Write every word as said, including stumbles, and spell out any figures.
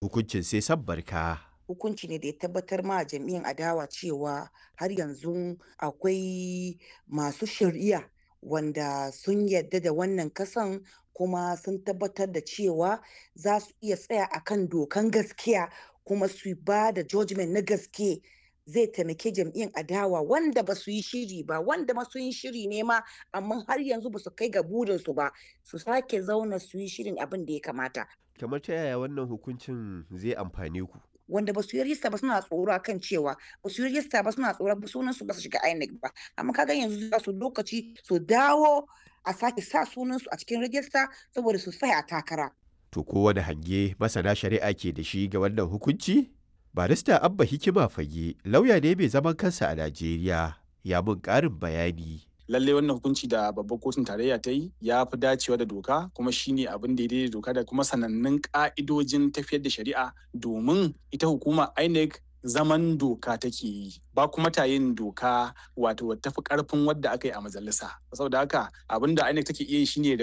Hukuncin sai san barka. Hukunci ne da ya tabbatar ma jam'iyyar adawa cewa har yanzu akwai masu shari'a wanda sun yadda da wannan kasan, kuma sun tabbatar da cewa za su iya tsaya akan dokan gaskiya kuma su ba da judgment na gaske. Zai taimake jam'iyyar adawa wanda ba su yi shiri ba, wanda ma sun yi shiri ne ma amma har yanzu ba su kai ga burinsu ba, su sake zauna su yi shirin abin da ya kamata. Kamar ta yaya wannan hukuncin zai amfane ku? Wanda ba su yi rajista ba suna tsoro akan cewa ba su yi rajista ba, suna tsoro sunan su ba su shiga INEC ba, amma kaga yanzu za su lokaci su dawo a sake sa sunan su a cikin rajista saboda su tsaya a takara. To kowane hange masana shari'a ke da shi ga wannan hukunci? Barista Abba Hikima Fage lauya ne mai zaman kansa a Najeriya, ya mun ƙarin bayani. Lallai wannan hukunci da babbar kotun tarayya ta yi ya fi dacewa da doka, kuma shine abin da daidai da doka da kuma sanannun ka'idojin tafiyar da shari'a, domin ita hukuma INEC zaman doka take yi, ba kuma ta yin doka wato tafi karfin wadda aka yi a majalisa. Saboda haka abin da INEC take iya yi shine